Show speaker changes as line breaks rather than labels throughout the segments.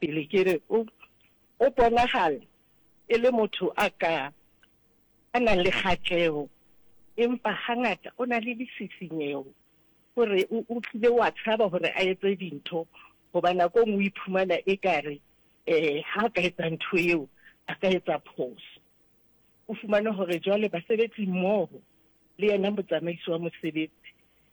pele ke re o o bonahala e le motho a ka a nang le kgatleho, empa hangata o na le disisinyeho hore o o tlile wa tshaba hore a etse dintho hoba nako e nngwe o iphumana ekare um ha a ka etsa ntho eo a ka etsa phoso. O fumane hore jwale basebetsi mmoho le yena motsamaisi wa mosebetsi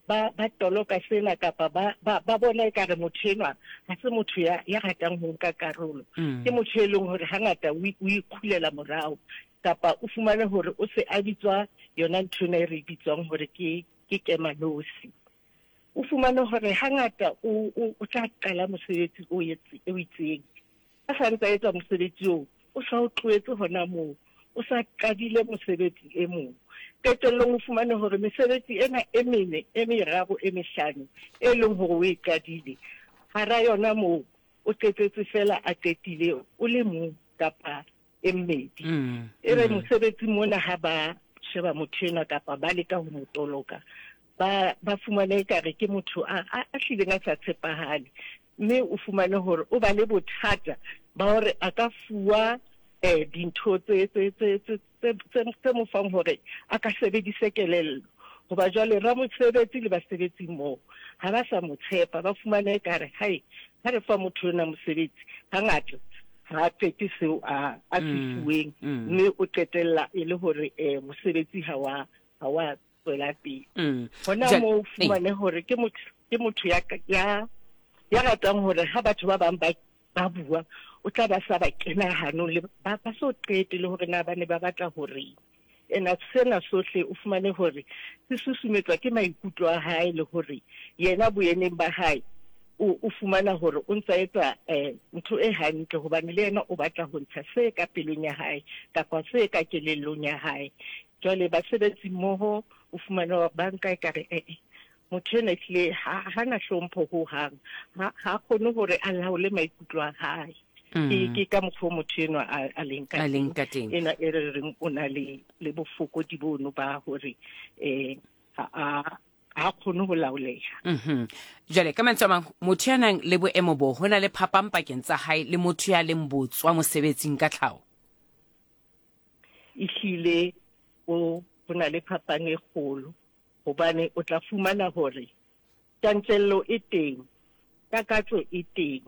ba ba toloka sena kapa ba ba ba bona ekare motho enwa ha se motho ya ya ratang ho nka karolo. Ke motho e leng hore hangata o o ikgulela morao kapa o fumane hore o se a bitswa yona ntho ena e re e bitswang hore ke ke kemanosi. O fumane hore hangata o o o tla qala mosebetsi o etse o itseng. A sa ntse a etsa mosebetsi oo, o sa o tlohetse hona moo, o sa qadile mosebetsi e mong. Qetellong o fumane hore mesebetsi ena e mene, e meraro, e mehlano e leng hore o e qadile, hara yona moo o qetetse feela a qetile o le mong kapa e mmedi. E re mosebetsi mona ha ba sheba motho enwa kapa ba leka ho mo toloka, ba ba fumane ekare ke motho a a hlileng a sa tshepahale, mme o fumane hore o ba le bothata ba hore a ka fuwa eh dintho tse tse tse tse tse tse mo fang hore a ka sebedise kelello. Hoba jwale ramosebetsi le basebetsi moo ha ba sa mo tshepa, ba fumane ekare hai ha re fa motho ona mosebetsi hangata ha a qete seo a a se fuweng, mme o qetella e le hore eh mosebetsi ha wa ha wa tswela pele. Hona moo o fumane hore ke motho ke motho ya ya ya ratang hore ha batho ba bang ba ba bua o tla ba sa ba kena hanong le ba ba so qete le hore na ba ne ba batla horeng. Ena sena sohle o fumane hore se susumetswa ke maikutlo a hae le hore yena boyeneng ba hae o o fumana hore o ntsa etsa eh ntho e hantle hobane le yena o batla ho ntsha se ka pelong ya hae kapa se ka kelellong ya hae. Jwale basebetsi mmoho o fumane hore ba nka ekare ee motho enwa ehlile ha ha na hlompho ho hang, ha ha kgone hore a laole maikutlo a hae. Ke ke ka mokgwa o motho enwa a a leng ka
A leng ka teng.
Enwa e re reng o na le le bofokodi bono ba hore eh ha a ha kgone ho laoleha.
Jwale ka mantswe a mang, motho ya nang le boemo bo, ho na le phapang pakeng tsa hae le motho ya leng botswa mosebetsing ka tlhaho?
Ehlile o ho na le phapang e kgolo hobane o tla fumana hore tjantjello e teng, takatso e teng.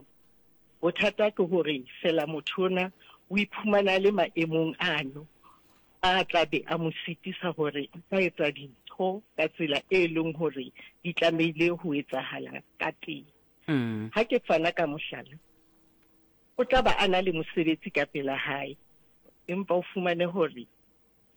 Bothata ke hore fela motho ona o iphumana a le maemong ano a tla be a mo sitisa hore a ka etsa dintho ka tsela e leng hore di tlamehile ho etsahala ka teng. Ha ke fana ka mohlala, o tla ba a na le mosebetsi ka pela hae, empa o fumane hore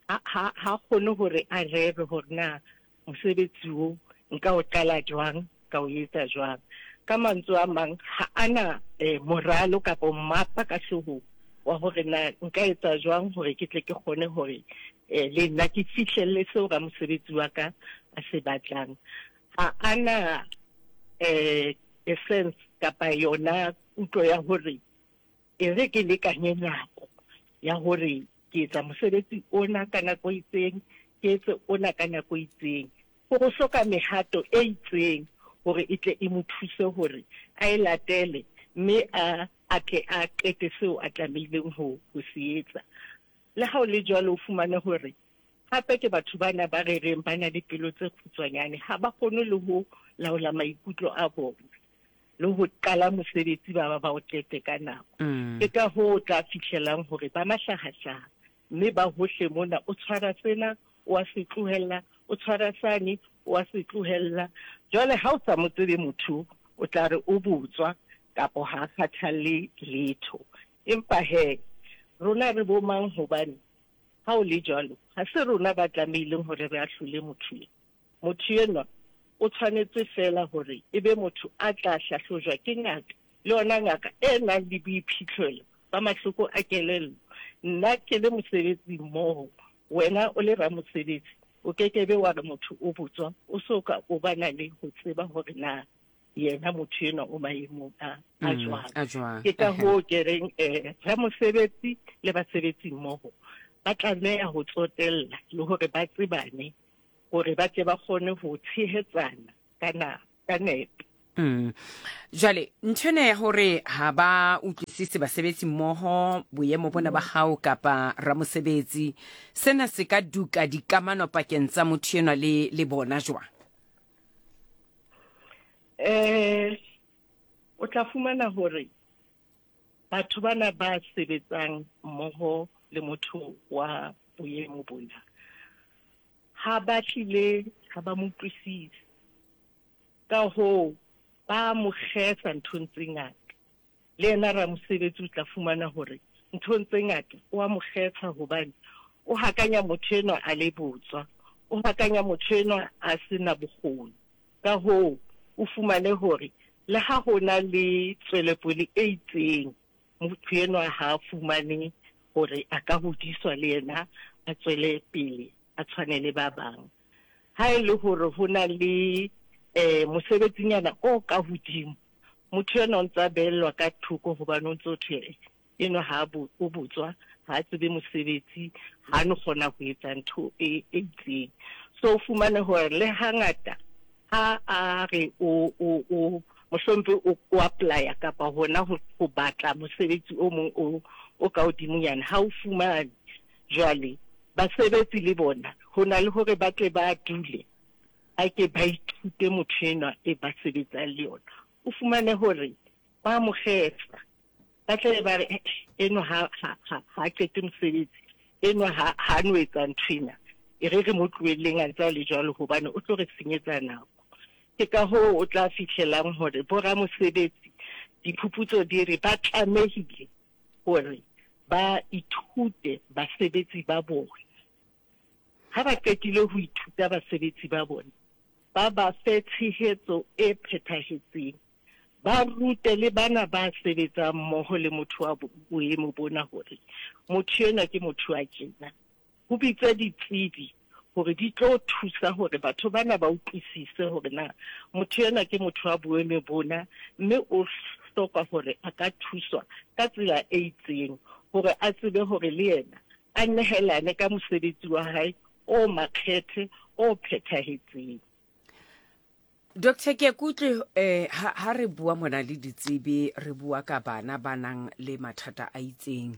ha ha ha kgone hore a rere hore na mosebetsi o nka o qala jwang, ka o etsa jwang. Ka mantswe a mang, ha a na eh, moralo kapa mmapa ka hloohong wa hore na nka etsa jwang hore ke tle ke kgone hore eh, le nna ke fihlelle seo ramosebetsi wa ka a se batlang. Ha a na eh, essence kapa yona kutlo ya hore e re ke lekanye nako ya hore ke etsa mosebetsi ona ka nako e itseng, ke etse ona ka nako e itseng. Ho go hloka mehato e itseng hore e tle e mo thuse hore a e latele mme a a tle a qete seo a tlamehileng ho ho se etsa. Le ha o le jwalo o fumane hore hape ke batho bana ba re reng ba na le pelo tse kgutshwanyane, ha ba kgone le ho laola maikutlo a bona le ho qala mosebetsi ba ba ba o qete ka nako. Ke ka hoo o tla fihlelang hore ba mahlahahlaha mme ba hohle mona, o tshwara sena o a se tlohella, o tshwara sane o a se tlohella. Jwale ha o sa mo tsebe motho o tla re o botswa kapa ha a kgathalle letho. Empa he rona re bo mang hobane ha o le jwalo ha se rona ba tlamehileng hore re ahlole motho eo. Motho enwa o tshwanetse feela hore e be motho a tla hlahlojwa ke ngaka, le yona ngaka e nang le boiphihlelo ba mahloko a kelello. Nna ke le mosebetsi mmoho, wena o le ramosebetsi, o ke ke be wa re motho o botswa o so ka o ba na le ho tseba hore na yena motho enwa o maemong a a jwang.
A jwang.
Ke ka hoo ke reng ramosebetsi le basebetsi mmoho ba tlameha ho tsotella le hore ba tsebane hore ba tle ba kgone ho tshehetsana ka na ka nepo.
Jwale ntho ena ya hore ha ba utlwisise basebetsi mmoho boemo bona ba hao kapa ramosebetsi, sena se ka duka dikamano pakeng tsa motho enwa le le bona jwang?
Eh o tla fumana hore batho bana ba sebetsang mmoho le motho wa boemo bona ha ba hlile ha ba mo utlwisise. Ka hoo, ba mo kgesa nthong tse ngata. Le yena ramosebetsi o tla fumana hore nthong tse ngata o a mo kgesa hobane o hakanya motho enwa a le botswa, o hakanya motho enwa a se na bokgoni. Ka hoo, o fumane hore le ha ho na le tswelopele e itseng, motho enwa ha a fumane hore a ka hodiswa le yena a tswele pele a tshwane le ba bang. Ha e le hore ho na le um mosebetsinyana o ka hodimo, motho enwa o ntse a behellwa ka thoko hobane o ntse o thwe enwa ha o botswa, ha a tsebe mosebetsi, ha no kgona ho etsa ntho e itseng. So o fumane hore le hangata ha a re o o o mohlompe o o apply-a kapa hona ho ho batla mosebetsi o mong o o ka hodimonyana, ha o fumane. Jwale basebetsi le bona ho na le hore ba tle ba dule ba ke ba ithute motho enwa e ba sebetsang le yona. O fumane hore ba mo kgetha, ba tla be ba re, Eh, enwa ha, ha, ha, ha a qete mosebetsi, enwa ha, ha a no etsa nthwena. E re re mo tlohelleng a ntse a le jwalo hobane o tlo re senyetsa nako. Ke ka hoo o tla fihlelang hore boramosebetsi, diphuputso di re ba tlamehile hore ba ithute basebetsi ba bona. Ha ba qetile ho ithuta basebetsi ba bona, ba ba fe tshehetso e phethahetseng. Ba rute le bana ba sebetsang mmoho le motho wa boemo bona hore motho enwa ke motho wa tjena. Ho bitswe ditsebi hore di tlo thusa hore batho bana ba utlwisise hore na motho enwa ke motho wa boemo bona mme o hloka hore a ka thuswa ka tsela e itseng hore a tsebe hore le yena a nehelane ka mosebetsi wa hae o makgethe o phethahetseng.
Doctor ke kutlwe eh ha, ha re bua mona le ditsebi re bua ka bana ba nang le mathata a itseng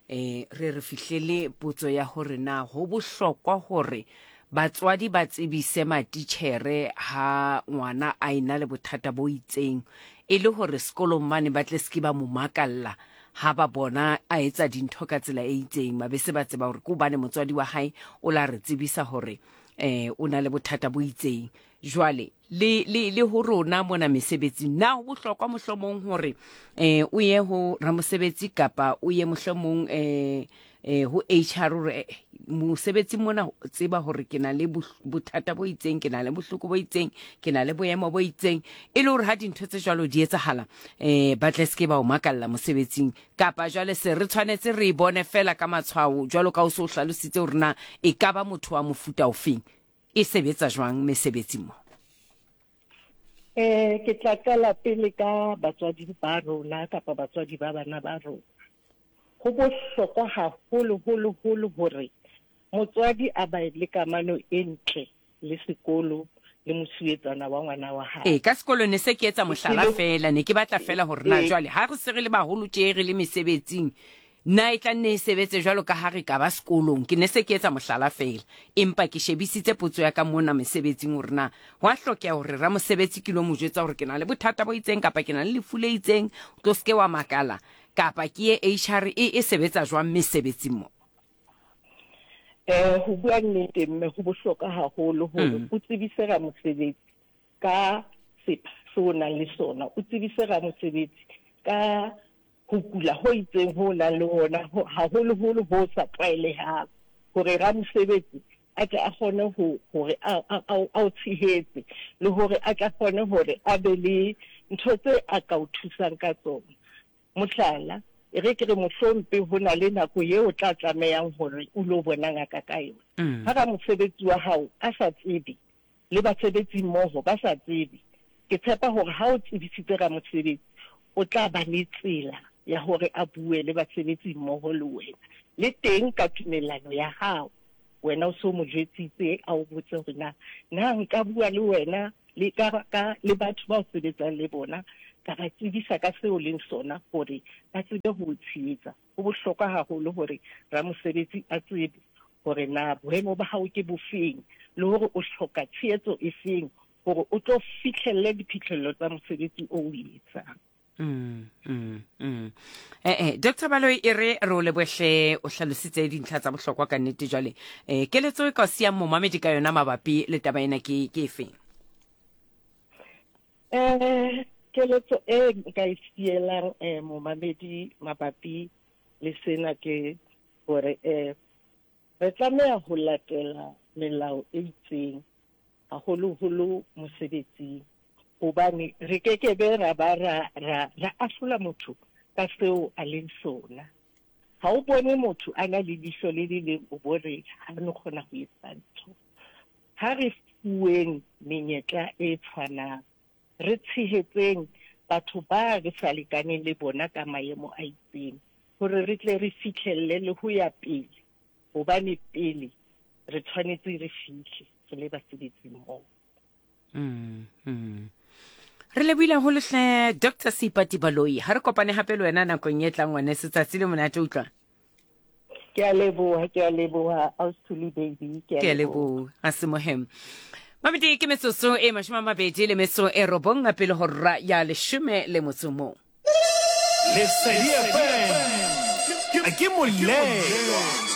eh re re fihlele potso ya hore na ho bohlokwa hore batswadi ba tsebise matitjhere ha ngwana a ena le bothata bo itseng e le hore sekolong mane ba tle se ke ba mo makalla ha ba bona a etsa dintho ka tsela e itseng ba be se ba tseba hore ke hobane motswadi wa hae o la re tsebisa hore eh o na le bothata bo itseng jwale le le le ho rona mona mesebetsing na ho bohlokwa mohlomong hore eh o ye ho ramosebetsi kapa o ye mohlomong eh eh ho HR hore eh, mosebetsi mona tseba hore ke na le bothata bo itseng ke na le bohloko bo itseng ke na le boemo bo itseng e le hore ha dintho tse jwalo di etsahala eh ba tle seke ba o makalla mosebetsing kapa jwale se re tshwanetse re e bone fela ka matshwao jwalo ka o se o hlalositse hore na e ka ba motho wa mofuta ofeng e sebetsa jwang mesebetsing mo?
Eh ke tla qala pele ka batswadi ba rona kapa batswadi ba bana ba rona. Ho bohlokwa haholo holo holo hore motswadi a ba le kamano e ntle le sekolo le mosuwetsana wa ngwana wa hae.
Ee, ka sekolo ne se ke etsa mohlala feela, ne ke batla feela hore na jwale ha re se re le baholo tje re le mesebetsing, na e tla nne e sebetse jwalo ka ha re ka ba sekolong. Ke ne se ke etsa mohlala feela, empa ke shebisitse potso ya ka mona mesebetsing hore na ho a hlokeha hore ramosebetsi ke lo mo jwetsa hore ke na le bothata bo itseng kapa ke na le lefu le itseng, o tlo se ke wa makala, kapa ke ye HR e, e sebetsa jwang mesebetsing mo.
Eh, ho bua nnete mme ho bohlokwa haholo hore o tsebise ramosebetsi ka sepha se o nang le sona, o tsebise ramosebetsi ka ho kula ho itseng ho nang le hona, haholoholo ho sa tlwaelehang, hore ramosebetsi a tle a kgone ho hore a o tshehetse le hore a tla kgone hore a be le ntho tse a ka o thusang ka tsona. Mohlala, e re ke re mohlompe ho na le nako eo o tla tlamehang hore o lo bona ngaka ka yona. Ha ramosebetsi wa hao a sa tsebe le basebetsimmoho ba sa tsebe, ke tshepa hore ha o tsebisitse ramosebetsi, o tla ba le tsela ya hore a bue le basebetsimmoho le wena. Le teng ka tumellano ya hao, wena o se o mo jwetsitse, a o botse hore na, na nka bua le wena? le ka, ka, le batho ba o sebetsang le bona, ka ba tsebisa ka seo o leng sona hore ba tsebe ho o tshehetsa. Ho bohlokwa haholo hore ramosebetsi a tsebe hore na boemo ba hao ke bofeng le hore o hloka tshehetso efeng hore o tlo fihlelle diphihlello tsa mosebetsi o o etsang.
Mm, mm, mm. Eh, eh, Dr. Baloyi e re re o lebohle o hlalositse dintlha tsa bohlokwa ka nnete jwale eh, keletso e ka o siyang momamedi ka yona mabapi le taba ena ke ke efeng?
Eh, keletso e nka e sielang eh, momamedi mabapi le sena ke hore eh, re tlameha ho latela melao e itseng haholoholo mosebetsing hobane re ke ke be ra ba ra, ra, ra ahlola motho ka seo a leng sona. Ha o bone motho a na le leihlo le le leng o bo re ha no kgona ho etsa ntho. Ha re fuweng menyetla e tshwanang, re tshehetseng batho ba re sa lekaneng le bona ka maemo a itseng hore re tle re fihlelle le ho ya pele, hobane pele re tshwanetse re fihle re le basebetsi mmoho.
Mm, mm. Re lebohile haholo hle Dr. Seipati Baloyi. Ha re kopane hape le wena nakong e tlang ngwaneso. Tsatsi le monate utlwa.
Ke a leboha, ke a leboha Austhuli baby, ke
a leboha. A se mohem. Mamedi ke metsotso e 29 pele hora ya 11.
Lesedi FM ke molelwa.